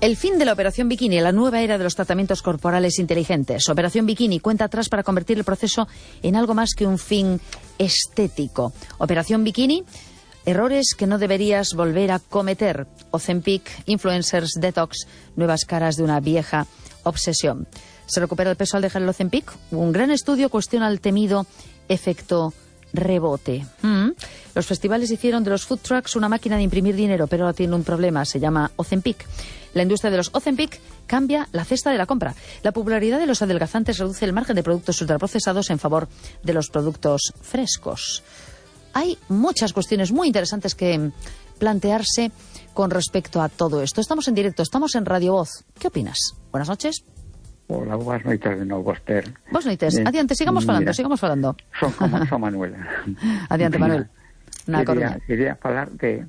El fin de la Operación Bikini, la nueva era de los tratamientos corporales inteligentes. Operación Bikini cuenta atrás para convertir el proceso en algo más que un fin estético. Operación Bikini, errores que no deberías volver a cometer. Ozempic, influencers, detox, nuevas caras de una vieja obsesión. ¿Se recupera el peso al dejar el Ozempic? Un gran estudio cuestiona el temido efecto rebote. Los festivales hicieron de los food trucks una máquina de imprimir dinero, pero ahora tiene un problema, se llama Ozempic. La industria de los Ozempic cambia la cesta de la compra. La popularidad de los adelgazantes reduce el margen de productos ultraprocesados en favor de los productos frescos. Hay muchas cuestiones muy interesantes que plantearse con respecto a todo esto. Estamos en directo, estamos en Radio Voz. ¿Qué opinas? Buenas noches. Hola, buenas noites de novo, Esther. Buenas noites. Adiante, sigamos falando. Son Manuel. Adiante, Manuel. Quería falar de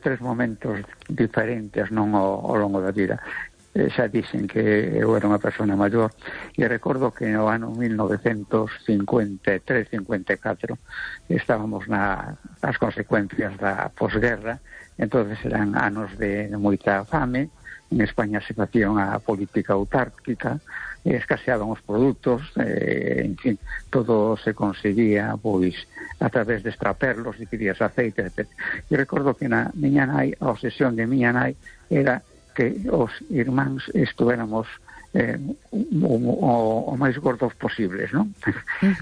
tres momentos diferentes ao longo da vida. Xa dixen que eu era unha persona maior e recordo que no ano 1953-54 estábamos nas consecuencias da posguerra. Entonces eran anos de moita fame. En España se facía unha política autárquica, escaseaban os produtos, en fin, todo se conseguía pois a través de extraperlos, adquirías aceite, etc. E recordo que na miña nai, a obsesión de miña nai era que os irmáns estuéramos o máis gordos posibles, non?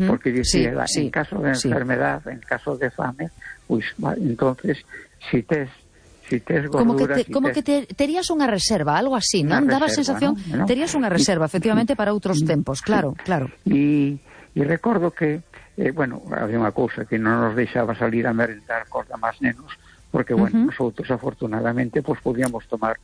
Porque dicía, en caso de enfermedad, en caso de fame, pois, entonces, si tes gordura... Como que terías unha reserva, algo así, non? Daba a sensación, ¿no? Terías unha reserva, efectivamente, para outros tempos, claro. E recordo que, había unha cousa que non nos deixaba salir a merendar cos demás nenos, porque, nosotros, afortunadamente, pues podíamos tomar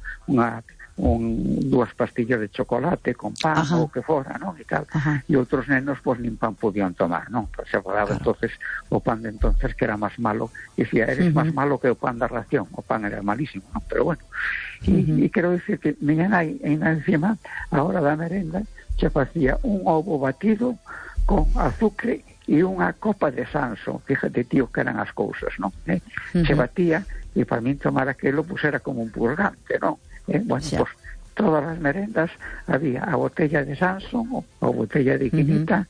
dúas pastillas de chocolate con pan ou que fora, non? E tal. E outros nenos, pues, nin pan podían tomar, non? Pues se falaba entonces o pan de entonces que era máis malo. E dicía, eres máis malo que o pan da ración. O pan era malísimo, non? Pero bueno. E quero dicir que miña nai, encima, a hora da merenda, se facía un ovo batido con azúcar e unha copa de Sanso. Fíjate, tío, que eran as cousas, non? Se batía, e para min tomar aquelo, pues era como un purgante, non? Pues todas as merendas había a botella de Sanson ou botella de quinita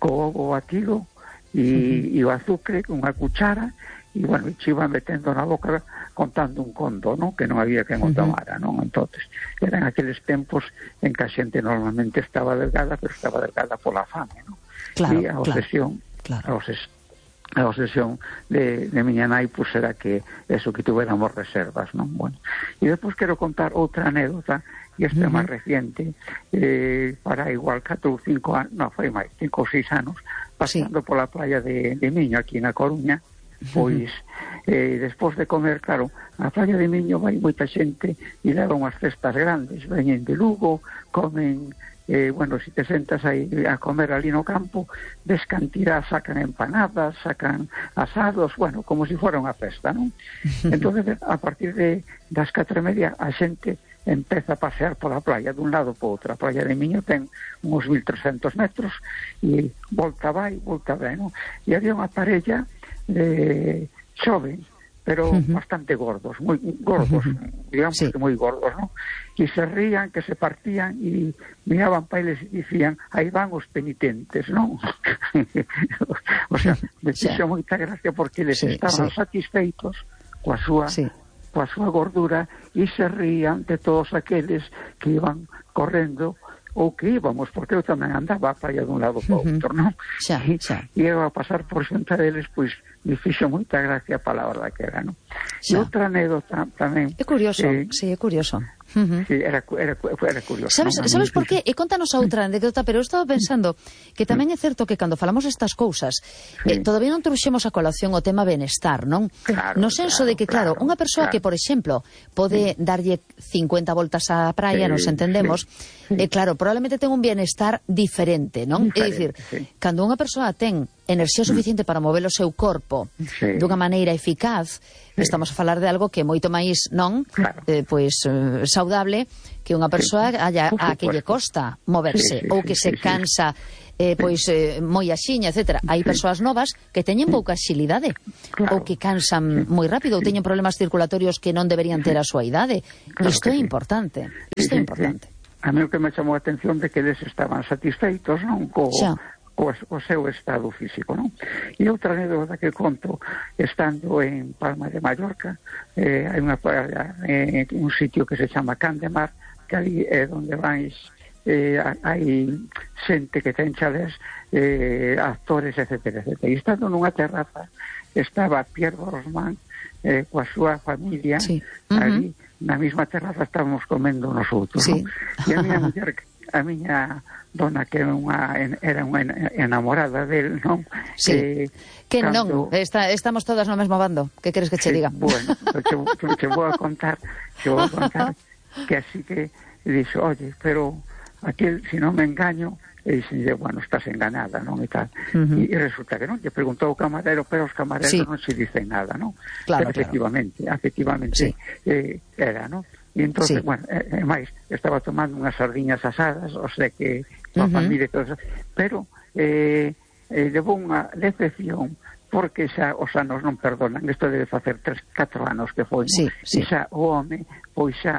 co ovo batido e o azúcar con unha cuchara e, se iban metendo na boca contando un conto, non? Que non había quen o tomara, non? Entonces, eran aqueles tempos en que a xente normalmente estaba delgada, pero estaba delgada pola fame, non? E a obsesión de miña nai, pues era que eso, que tuviéramos reservas, non? Bueno, e despois quero contar outra anécdota, e esta é máis reciente, para igual 4 ou 5 anos, non, foi máis, 5 ou 6 anos, pasando pola playa de Miño, aquí na Coruña, pois, despois de comer, claro, a playa de Miño vai moita xente e leva unhas cestas grandes, veñen de Lugo, comen... si te sentas aí a comer ali no campo, ves cantidad, sacan empanadas, sacan asados, como si fuera unha festa, non? Entonces, a partir das 4:30, a xente empeza a pasear pola playa dun lado para outro. A playa de Miño ten uns 1300 metros e volta vai, volta ven, non? E había unha parella xoven, pero bastante gordos, moi gordos, digamos que moi gordos, ¿no? Que se rían, que se partían e miraban para eles e dicían, aí van os penitentes, ¿no? O sea, me fixo moita gracia porque eles estaban satisfeitos coa súa gordura e se rían de todos aqueles que iban correndo ou que íbamos, porque eu tamén andaba a playa dun lado para outro, non? E eu a pasar por xunta deles, pois, me fixo moita gracia a palabra que era, non? E outra anécdota tamén... É curioso, é curioso. Sí, era curioso. Sabes por qué? E contanos a outra anécdota, pero eu estaba pensando que tamén é certo que cando falamos estas cousas, todavía non trouxemos a colación o tema benestar, non? No senso de que, claro, unha persoa que, por exemplo, pode darlle 50 voltas á praia, nos entendemos, claro, probablemente ten un bienestar diferente, non? É dicir, cando unha persoa ten enerxía suficiente para mover o seu corpo dunha maneira eficaz, estamos a falar de algo que é moito máis saudable que unha persoa a que lle costa moverse ou que se cansa moi axiña, etc. Hai persoas novas que teñen pouca axilidade ou que cansan moi rápido ou teñen problemas circulatorios que non deberían ter a súa idade. Isto é importante. Isto é importante. A mí o que me chamou a atención de que eles estaban satisfeitos, non, o seu estado físico, non? E outra anécdota que conto, estando en Palma de Mallorca, hai un sitio que se chama Can de Mar, que ali é onde vais, hai xente que ten chalés, actores, etc. E estando nunha terraza, estaba Pierre Brosnan coa súa familia, ali, na mesma terraza estábamos comendo nosotros, non? E a miña muller, a miña dona, que era unha enamorada del, non? Que non, estamos todas no mesmo bando. Que queres que che diga? Bueno, che vou a contar que así que dixo, oye, pero aquel, si non me engaño, e dixenlle, bueno, estás enganada, non? E tal. E resulta que non, lle preguntou o camarero, pero os camareros non se dicen nada, non? Claro, pero efectivamente era, non? E entón, bueno, máis, estaba tomando unhas sardiñas asadas, o sea que a familia e todo eso, pero levou unha decepción, porque xa os anos non perdonan. Isto debe facer 3-4 anos que foi, e xa o home, pois xa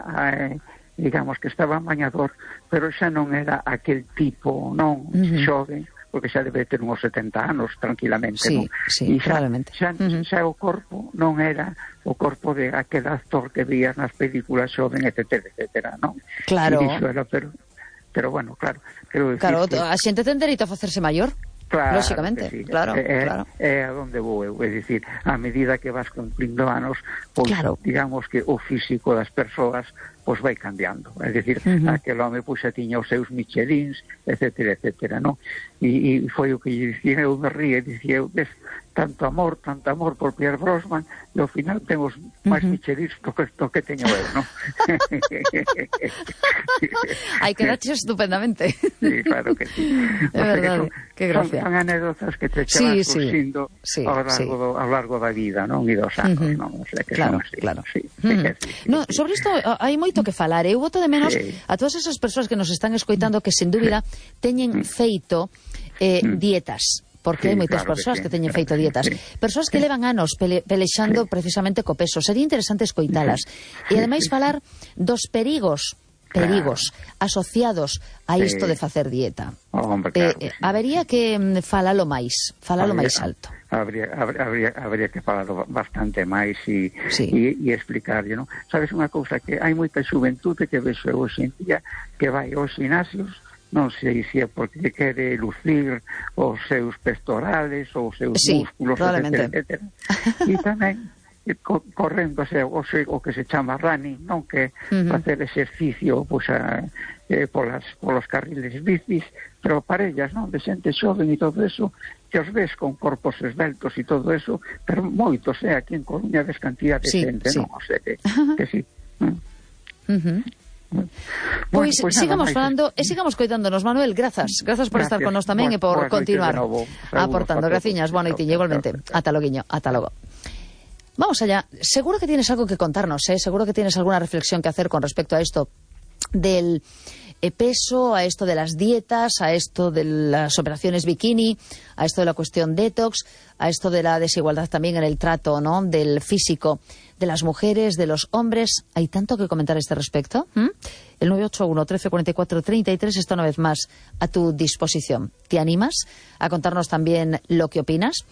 digamos que estaba mañador, pero xa non era aquel tipo, non, xove, porque xa debe ter uns 70 anos tranquilamente, non? E xa o corpo non era o corpo de aquel actor que vías nas películas xoven, etc., non? Claro. E dixo, pero bueno, claro, quero dicir que a xente ten dereito a facerse maior. Claro, lógicamente, claro. É a donde vou eu, é dicir, a medida que vas cumplindo anos, pois digamos que o físico das persoas pois vai cambiando, é dicir, aquel home pois xa tiña os seus Michelins, etc., non? E foi o que lle dicía, eu me ríe, dicía eu, ves, tanto amor por Pierre Brosnan, e ao final temos máis Michelins do que teño eu, non? Hai que daches estupendamente. Sí, claro que sí. É verdade, que gracia. Son anécdotas que te van surgindo ao largo da vida, non? E dos anos, non? O sea, que claro. No, sobre isto hai moito que falar. Eu boto de menos a todas esas persoas que nos están escoitando que, sen dúbida, teñen feito dietas. Porque hai moitas persoas que teñen feito dietas. Persoas que levan anos pelexando precisamente co peso. Sería interesante escoitalas. E, ademais, falar dos perigos asociados a isto de facer dieta. Habería que falalo máis alto. Habría que falalo bastante máis e explicarlle, non? Sabes unha cousa, que hai moita xuventude que vexo hoxe en día que vai aos gimnasios, non sei se é porque quere lucir os seus pectorales ou os seus músculos, etc. E tamén correndo o que se chama running, non, que facer exercicio pois polos carriles bicis, pero parellas, non, de xente xoven e todo eso, que os ves con corpos esbeltos e todo eso, pero moitos, aquí en Coruña ves cantidad de xente, non, o sea que sí. Pois sigamos falando e sigamos coitándonos, Manuel. Grazas por estar con nos tamén e por continuar aportando. Graciñas, boa noite, igualmente. Ata loguiño, ata logo. Vamos allá. Seguro que tienes algo que contarnos, seguro que tienes alguna reflexión que hacer con respecto a esto del peso, a esto de las dietas, a esto de las operaciones bikini, a esto de la cuestión detox, a esto de la desigualdad también en el trato, ¿no?, del físico de las mujeres, de los hombres. Hay tanto que comentar a este respecto. El 981 13 44 33 está una vez más a tu disposición. ¿Te animas a contarnos también lo que opinas?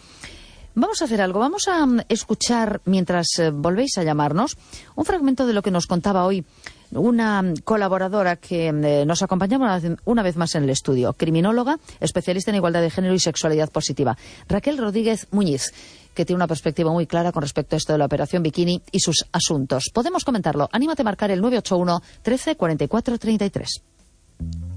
Vamos a hacer algo, vamos a escuchar, mientras volvéis a llamarnos, un fragmento de lo que nos contaba hoy una colaboradora que nos acompañaba una vez más en el estudio, criminóloga, especialista en igualdad de género y sexualidad positiva, Raquel Rodríguez Muñiz, que tiene una perspectiva muy clara con respecto a esto de la operación bikini y sus asuntos. Podemos comentarlo. Anímate a marcar el 981 13 44 33.